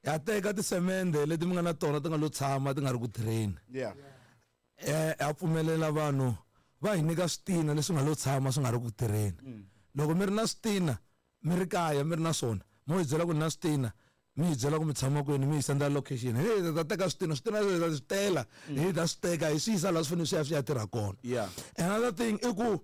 Ha teka tisemende leti mi nga na tona ti nga lo tshama ti nga ri ku tirheni. Yeah. Ha pfumelela vanhu va hi nyika switina leswi nga lo tshama swi nga ri ku tirheni. Loko mi ri na switina mi ri kaya mi ri na swona, mo hi byela ku ni na switina, mi hi byela ku mi tshama kwini, mi hi sendela location. Hi ta teka switina, switina hi ta swi tela, hi ta swi teka hi swi yisa laha swi fanele swi ya swi ya tirha kona. Yeah. Another thing i ku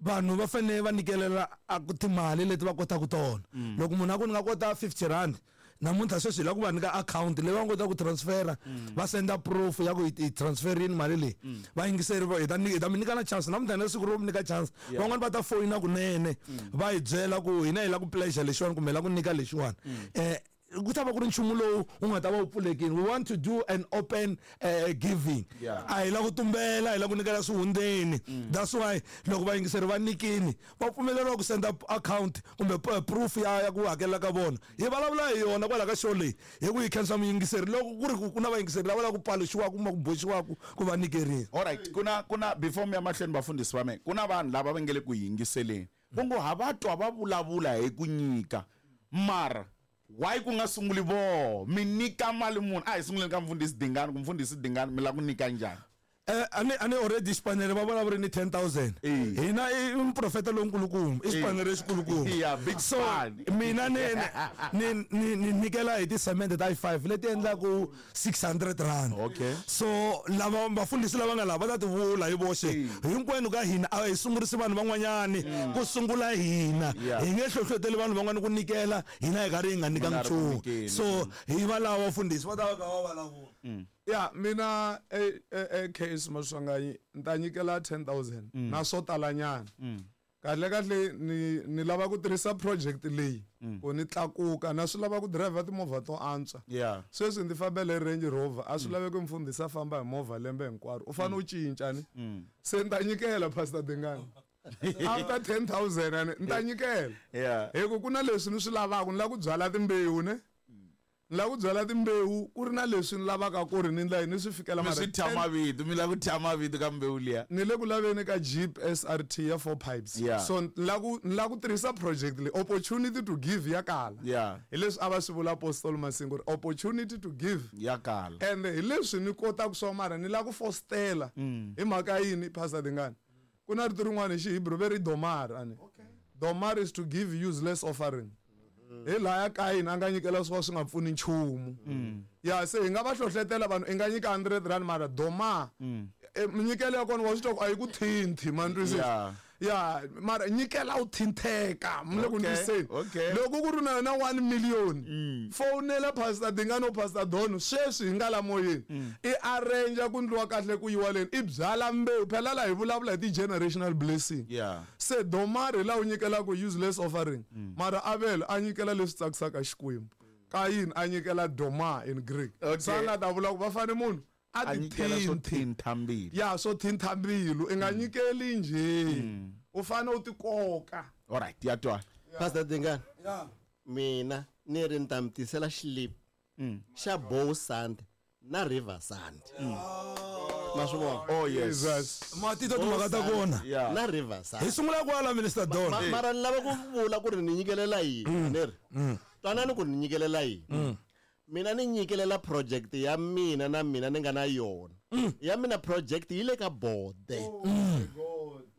vanhu va fanele va nyikelela a ku timali leti va kotaka tona. Loko munhu a ku ni nga kota 50 rand, namuntlha sweswi hi lava ku va nyika akhawunti leyi va nga kota ku transfera, va senda proof ya ku hi transferini mali leyi. Va yingiseri va, hi ta hi ta mi nyika na chance namuntlha na siku ro mi nyika chance. Van'wani va ta foyina kunene va hi byela ku hina hi lava ku pleasure lexiwani kumbe hi lava ku nyika lexiwani. Ku ta va ku ri nchumu lowu wu nga ta va wu pfulekile. We want to do an open giving. A hi lava ku tumbela, hi lava ku nyikela swihundleni. That's why loko vayingiseri va nyikini va pfumeleriwa ku senda account kumbe proof ya ku hakela ka vona. Hi vulavula hi yona kwala ka show leyi hi ku hi khensa muyingiseri loko ku ri ku na vayingiseri lava lava ku paluxiwaka kumbe ku boxiwaka ku va nyikerile. All right, kuna kuna before mi ya mahlweni vafundhisi va mina, ku na vanhu lava va nge le ku yingiseleni va ngo ha va twa va vulavula hi ku nyika, mara why ku nga sunguli voho mi nyika mali muni? A hi sunguleni ka mfundhisi Dingani, ku mfundhisi Dingani mi lava ku nyika njhani? A ni already xipanere va vulavuri ni 10,000. Hina i muprofeta lonkulukumba, i xipanere lexikulukumba. Yeah, big So, span. mina ni nyikela hi tisemende ta 5 leti endlaku 600 rand. Okay. So lava vafundhisi lava nga lava va ta ti vula hi voxe. Hinkwenu ka hina a hi sungurisi vanhu van'wanyani, ku sungula hina. Yeah. Hi nge hlohloteli vanhu van'wana ku nyikela, hina hi karhi hi nga nyikanga Mi nga ri ku nchumu. nyikeni. So hi va lava vafundhisi va ta va kha va vulavula. Ya, mina KS Maswanganyi ni ta nyikela 10,000 na swo talanyana. Kahle kahle ni lava ku tirhisa project leyi ku ni tlakuka, na swi lava ku driver timovha to antswa. Yeah. Sweswi ndzi fambele Range Rover, a swi laveki mfundhisi a famba hi movha lembe hinkwaro, u fanele u cinca ni. Se ni ta nyikela Pastor Dingani. After 10,000 ani ni ta nyikela. Yeah. Hi ku ku na leswi ni swi lavaka, ni lava ku byala timbewu ne. Ni lava ku byala timbewu ku ri na leswi ni lavaka ku ri ni ndla yini ni swi fikela Mi mara swi thya ten mavito, mi lava ku thya mavito ka mbewu liya. Ni le ku laveni ka Jeep SRT ya 4 pipes. Yeah. So ni lava ku, ni lava ku tirhisa project leyi, opportunity to give ya kala. Yeah. Hi leswi a va swi vula Apostle Masingo ri opportunity to give ya kala. And hi leswi ni kotaka swa mara ni lava ku fostela. Hi mhaka yini Pastor Dingani? Ku na rito rin'wana hi Xihebrew ve ri domar ani. Okay. Domar is to give useless offering. Hi laya Kain a nga nyikela swo swi nga pfuni nchumu. Ya se hi nga va hlohletela vanhu i nga nyika 100 rand mara doma. Minyikelo ya kona wa swi twa ku a yi ku thinthi man twisisa. Yeah. Ya mara nyikela u thintheka mi le ku Okay, ndliseni. okay. Loko ku ri na yona 1 million fonela Pastor Dingani o Pastor Don sweswi hi nga la moyeni. I arrange ku ndliwa kahle ku yiwa leni i byala mbewu phela la hi vulavula hi ti generational blessing. Yeah. Se domar hi laha u nyikelaka useless offering. Mara Abel a nyikela leswi tsakisaka Xikwembu. Kayin a nyikela doma in Greek. Okay. Se a nga ta vula ku va fane munhu a A ti nyikela swo thinthi. thintha mbilu. Ya swo thintha mbilu i nga nyikeli njhe. U fane u ti koka. All right, ya twa. Pastor Dingani. Yeah. Mina ni ri ni ta mi tisela xilipi xa Bow Sand na River Sand. Ma swi vona? Oh yes. Jesus. Ma titwa timhaka ta kona. Yeah. Na River Sand. Hi sungula kwala Minister Don. Mara ni lava ku vula ku ri ni nyikelela yini, ni ri. Twanani ku ni nyikelela yini. Mina ni nyikelela project ya mina na mina ni nga na yona. Ya mina project yi le ka bode.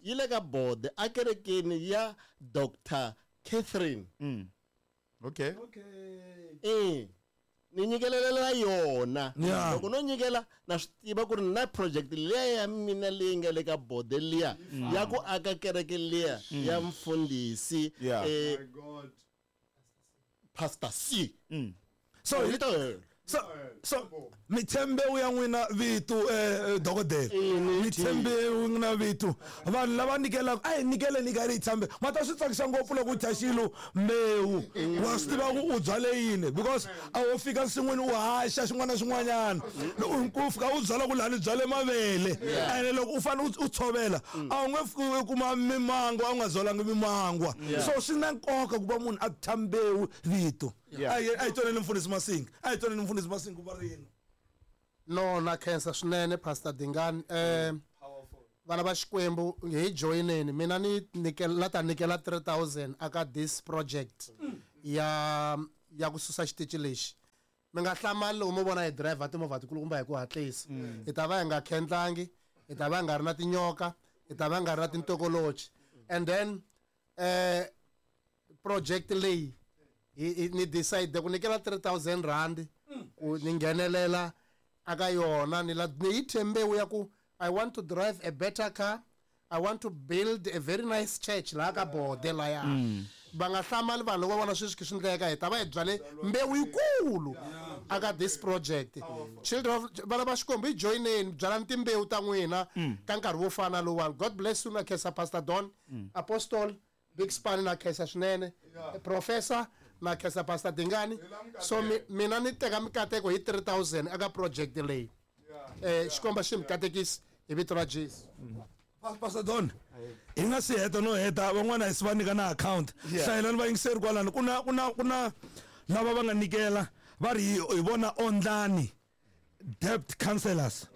Yi le ka bode a kerekeni ya Doctor Catherine. Okay. Eh. Ni nyikelela yona. Yeah. Loko no nyikela na swi tiva ku ri na project liya ya mina leyi nga le ka bode liya ya ku aka kereke liya ya mfundhisi, Yeah. My God. Pastor C. So Hi to hela. So mi tshembe u ya n'wina vito dokodela. Mi tshembe u n'wina vito. Vanhu lava nyikelaka, a hi nyikeleni ka ri tshembe. Ma ta swi tsakisa ngopfu loko u thya xilo mbewu. Wa swi tiva ku u byale yini because a wo fika nsin'wini u haxa xin'wana na xin'wanyana. Loko u fika u byala ku laha ni byale mavele. Ene loko u fanele u tshovela, a wu nge fiki u kuma mimangwa, a wu nga byalangi mimangwa. So swi na nkoka ku va munhu a thya mbewu vito. Yeah. A hi twaneni mfundhisi Masinga. A hi twaneni mfundhisi Masinga va ri yini. No, na khensa swinene Pastor Dingani. Vana va Xikwembu hi joineni. Mina ni nyikela, la ta nyikela 3000 aka this project ya ku susa xitichi lexi. Mi nga hlamali loko mo vona hi driver timovha tikulukumba hi ku hatlisa. Hi ta va hi nga khendlangi, hi ta va hi nga ri na tinyoka, hi ta va hi nga ri na tintokolochi. And then project leyi ni decide ku nyikela 3000 rand ku ni nghenelela aka yona, ni la ni yi thye mbewu ya ku I want to drive a better car, I want to build a very nice church laha ka bode laya. Va nga hlamali vanhu loko va vona sweswi swi ndleka, hi ta va hi byale mbewu yikulu aka this project. Children of vana va Xikwembu, hi joyineni, byalani timbewu ta n'wina ka nkarhi wo fana lowuwani. God bless you. Na khensa Pastor Don, Apostle Big Span, na khensa swinene Professor, na khensa Pastor Dingani. So mina ni teka mikateko hi 3000 aka project leyi. Xikwembu xi mi katekisi hi vito ra Jesu. Pastor Don, hi nga si heta no heta, van'wana hi si va nyika na account. Hlayelani vayingiseri kwalano, ku na lava va nga nyikela, va ri hi vona Ondlani Debt Counselors.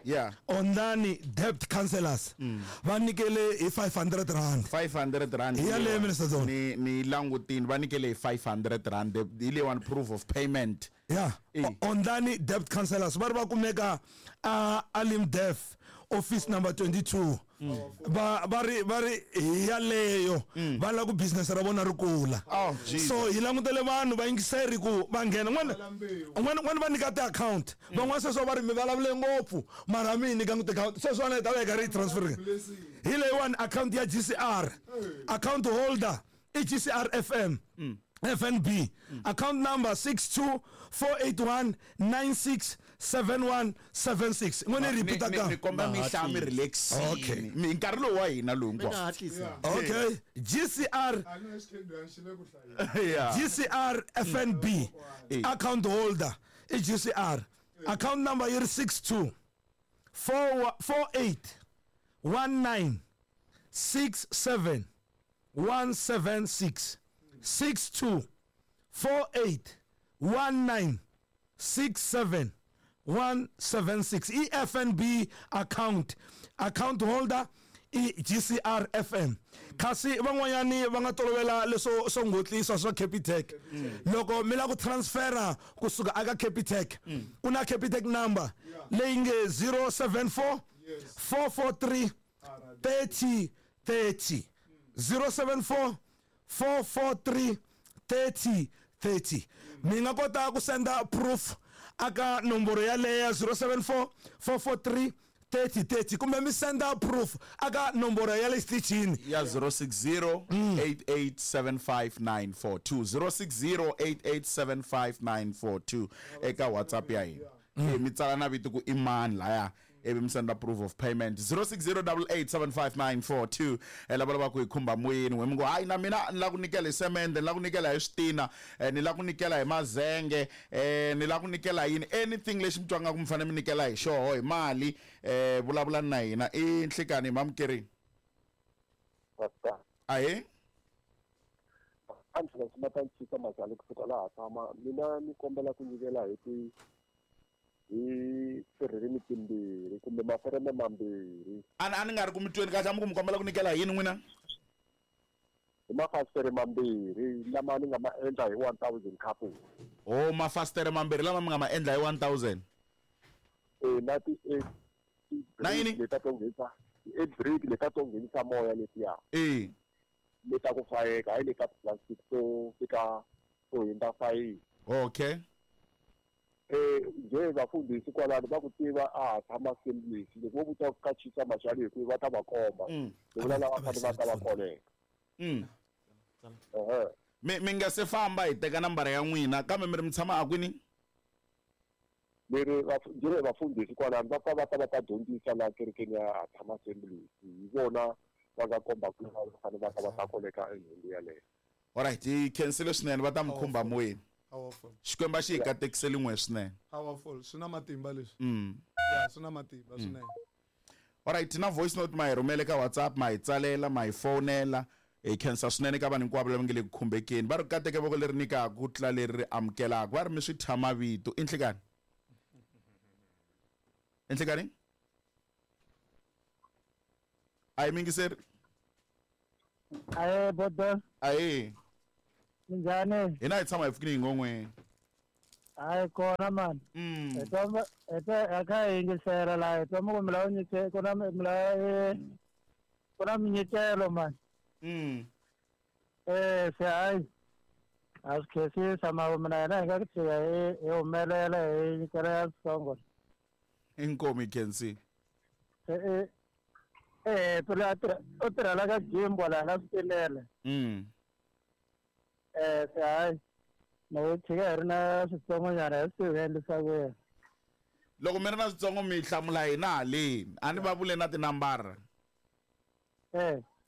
Ondlani Debt Counselors va nyikele hi 500 rand. 500 rand. Hi yaleyo, Minister Don. Ni langutini, va nyikele hi 500 rand, hi leyiwani proof of payment. Ondlani Debt Counselors va ri va kumeka a Alimdef office number 22. Va ri hi yaleyo, va lava ku business ra vona ri kula. Oh, Jesus. So hi langutele vanhu vayingiseri ku va nghena n'wana va nyika ti-account. Van'wana sweswo va ri mi vulavule ngopfu, mara mi hi nyika ti-account sweswiwana hi ta va hi karhi hi transfer. Hi leyiwani account ya GCR, account holder i GCR FM, FNB, account number 62481 967176. N'wini, repeat Ni ka kombela mi hlaya mi relaxini. Okay. Mi nkarhi lowu wa hina lowu Mi nga hinkwawo. hatlisa. Okay, GCR. A ni xikhedwana xi le ku hlayeni. GCR FNB, account holder i GCR, account number yi ri 62 4 48 19 67 176, 62 48 19 67 176, i-FNB account, account holder i GCR FM. Kasi van'wanyani va nga tolovela leswo swo ngotlisa swa Capitec, loko mi lava ku transfera kusuka aka Capitec, ku na Capitec number leyi nge 074 443 30 30, 074 443 30 30. Mi nga kota ku senda proof aka nomboro yaleyo 074 443 30 30, kumbe mi senda proof aka nomboro ya le xitichini Ya 060 8875942, 060 8875942 eka WhatsApp ya hina. Mi tsala na vito ku i mani laya, ivi mi senda proof of payment 060 8875942. Lava lavaka ku hi khumba moyeni, n'we mi ngo hayi, na mina ni lava ku nyikela hi semende, ni lava ku nyikela hi switina, ni lava ku nyikela hi mazenge, ni lava ku nyikela yini, anything lexi mi twanga ku mi fanele mi nyikela hi xoho hi mali, vulavulani na hina. I nhlikani, mamukerini. Pastor. Ahee. Angela Simatanchika Mazali kusuka laha tshama. Mina ni kombela ku nyikela hi ti hi tirhirimi timbirhi kumbe mafereme mambirhi. A ni nga ri ku mi tweni kahle, a mi ku mi kombela ku nyikela hi yini n'wina? Hi mafasitere mambirhi lama ni nga ma endla hi 1000 couple. O mafasitere mambirhi lama mi nga ma endla hi 1000. E na ti eight Na yini? Leta to nghenisa eight brick, leta to nghenisa moya letiya. Leta ku fayeka, hayi leta plastic to fika to hundza fayini. Nje vafundhisi kwalano va ku tiva, a ha tshama Assemblies, loko vo vuta ka Chisa Machali hi ku va ta va komba. Hi vula lava fanele va ta va koleka. Ehe. Mi nga se famba, hi teka nambara ya n'wina, kambe mi ri mi tshama a kwini? Leri njhe vafundhisi kwalano va pfa va ta va ta dyondzisa laha kerekeni ya ha tshama Assemblies, hi vona va nga komba ku va fanele va ta va ta koleka enhundu yaleyo. Alright, hi khensile swinene, va ta mi khumba moyeni. Powerful. Xikwembu a xi hi katekiseli n'we swinene. Powerful, swi na matimba leswi. Ya, swi na matimba swinene. Alright, na voice note ma hi rhumele ka WhatsApp, ma hi tsalela, ma hi fonela. Hi khensa swinene ka vanhu hinkwavo lava nge le ku khumbekeni. Va ri kateke voko leri nyikaka ku tlula leri ri amukelaka. Va ri mi swi thya mavito. I nhlikani, i nhlikani, a hi mingiseri. Ahe bodo. Ahee. Minjhani? Hina hi tshama hi pfukini hi ngon'weni. Hayi kona mani. Hi twa hi twa a kha hi yingisela laha hi twa mi ku mi lava nyike ku na mi lava ku na minyikelo mani. Se hayi a swi khensisa mara mina hina hi nga ku tshika hi humelela hi nyikela ya switsongo. Inkomu hi khensile. Phela a tirha u tirhela ka Jimbo laha ka switimela. Se hayi loko hi tshika hi ri na switsongonyana hi swi tivi hi endlisa ku yini. Loko mi ri na switsongo mi hlamula hina haleni a ni va vule na tinambara.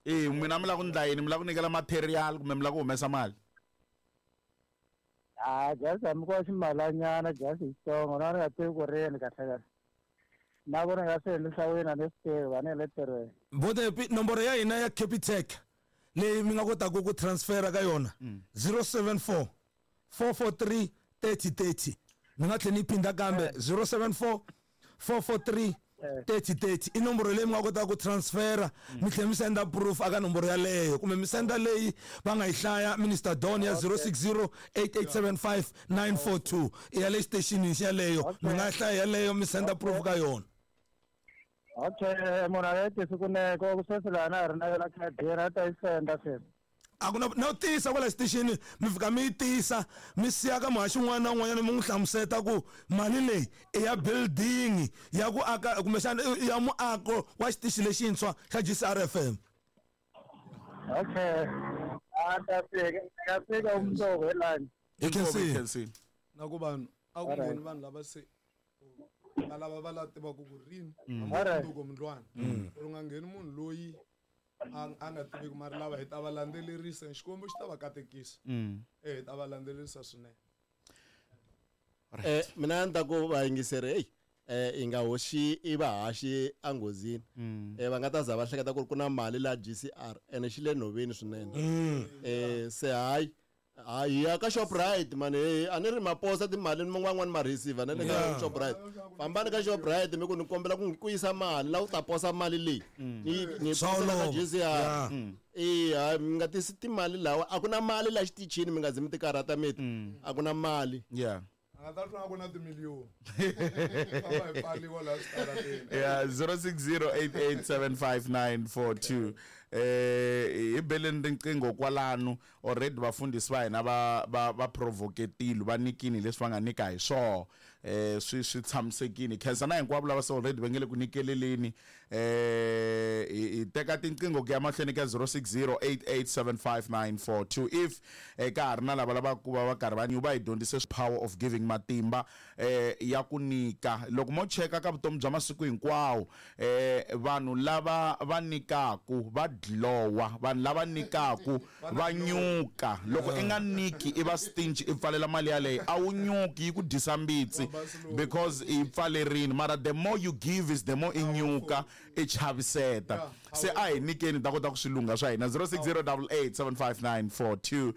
E n'wina mi lava ku ndla yini, mi lava ku nyikela material kumbe mi lava ku humesa mali? A just hambi ko ximalanyana just xitsongo na ni nga tivi ku ri yini kahle kahle. Na ku ni nga swi endlisa ku yini a ni swi tivi a ni le ntirhweni. Botepi nomboro ya hina ya Capitec leyi mi nga kotaka ku transfera ka yona 074 443 3030. Ni nga tlhela ni yi phinda kambe 074 443 3030 i nomboro leyi mi nga kotaka ku transfera mi tlhela mi senda proof aka nomboro yaleyo kumbe mi senda leyi va nga yi hlaya Minister Don ya 060 8875 942 i ya le xitexinini xeleyo mi nga hlaya yaleyo mi senda proof ka yona. Okay, munhu a nga yi tisi kunene ku sweswi laha na ha ri na yona khadini a ta yi senda sweswi. A ku na na tisa kwala xitixini mi fika mi yi tisa mi siya ka muhaxi un'wana na un'wanyana mi n'wi hlamuseta ku mali leyi i ya building ya ku aka kumbexana i ya muako wa xitichi lexintshwa xa GCRFM. Okay, a ta fika ni nga fika umundzuku hi lunch. Hi khensile. Na ku vanhu a ku ngheni vanhu lava se va lava va la tivaka ku rini mundzuku mundlwana ku ri nga ngheni munhu loyi a nga tiviki mara lava hi ta va landzelerisa Xikwembu xi ta va katekisa. Hi ta va landzelerisa swinene. Mina ni ta ku vayingiseri hey i nga hoxi i va haxi enghozini. Va nga ta za va hleketa ku ri ku na mali la GCR ene xi le nhoveni swinene. Se hayi hayi ya ka Shoprite mani hey a ni ri maposa timali ni man'wana ma receiver na le ka Shoprite. Fambani ka Shoprite mi ku ni kombela ku yisa mali la u ta posa mali leyi. Ni posa ka GCR. Hayi mi nga tisi timali lawa a ku na mali la xitichini mi nga zi mi ti karhata miti. A ku na mali. Yeah. A nga ta twa ku na timiliyoni. Famba hi pfaliwa laha switarateni. Yeah, 0608875942. Hi beleni riqingho kwalano already vafundhisi va hina va provocatile va nikini leswi va nga nyika hi swona. Swi tshamisekile. Khensa na hinkwavo lava se already va nge le ku nyikeleleni. Hi teka tinqingho ku ya mahlweni ka 0608875942 if ka ha ri na lava lavaka ku va va karhi va va hi dyondzise power of giving matimba ya ku nyika. Loko mo cheka ka vutomi bya masiku hinkwawo vanhu lava va nyikaku va glowa, vanhu lava nyikaku va nyuka. Loko i nga nyiki i va stingy i pfalela mali yaleyo a wu nyuki yi ku dyisa mbitsi because i pfalerini. Mara the more you give is the more i nyuka i chaviseta. Se a hi nyikeni ta kota ku swi lungha swa hina. 0608875942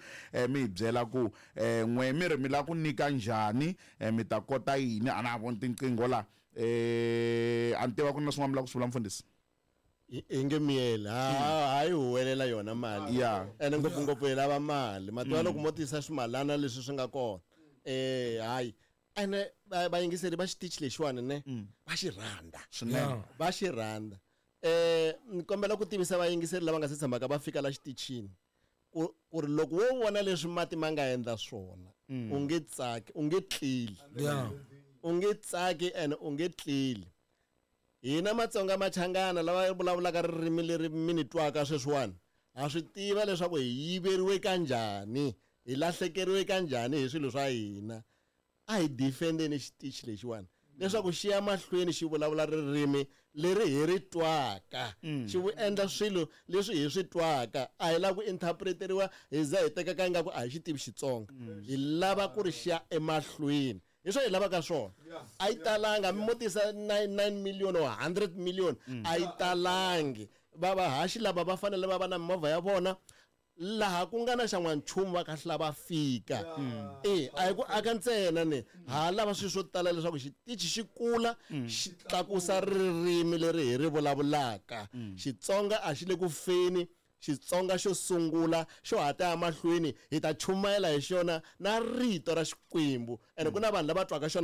mi hi byela ku n'we mi ri mi lava ku nyika njhani, mi ta kota yini. A na ha voni tinqingho la. A ni tiva ku na swin'wana mi lava ku swi vula mfundhisi. Hi nge miyeli hayi huwelela yona mali. Yeah. Ene ngopfungopfu hi lava mali. Mativa loko mo tisa swimalana leswi swi nga kona. Hayi. Ene vayingiseri va xitichi lexiwani ne va xi rhandza. Swinene. Va xi rhandza. Ni kombela ku tivisa vayingiseri lava nga se tshamaka va fika la xitichini ku ri loko wo vona leswi mati ma nga endla swona u nge tsaki, u nge tleli. U nge tsaki ene u nge tleli. Hina Matsonga Machangana lava vulavulaka ririmi leri mi ni twaka sweswiwani ha swi tiva leswaku hi yiveriwe kanjhani, hi lahlekeriwe kanjhani hi swilo swa hina. A hi defendeni xitichi lexiwani leswaku xi ya mahlweni xi vulavula ririmi leri hi ri twaka, xi vu endla swilo leswi hi swi twaka. A hi lava ku interpreteriwa hi za hi tekaka ingaku a hi xi tivi Xitsonga. Hi lava ku ri xi ya emahlweni. Hi swo hi lavaka swona. A yi talanga mi mo tisa 9 million or 100 million a yi talangi. Va vahaxi lava va fanele va va na mimovha ya vona laha ku nga na xan'wanchumu va kahlula va fika. A hi ku aka ntsena ne ha lava swilo swo tala leswaku xitichi xi kula xi tlakusa ririmi leri hi ri vulavulaka. Xitsonga a xi le ku feni. Xitsonga xo sungula xo ha ta ya mahlweni hi ta chumayela hi xona na rito ra Xikwembu, ene ku na vanhu lava twaka xona.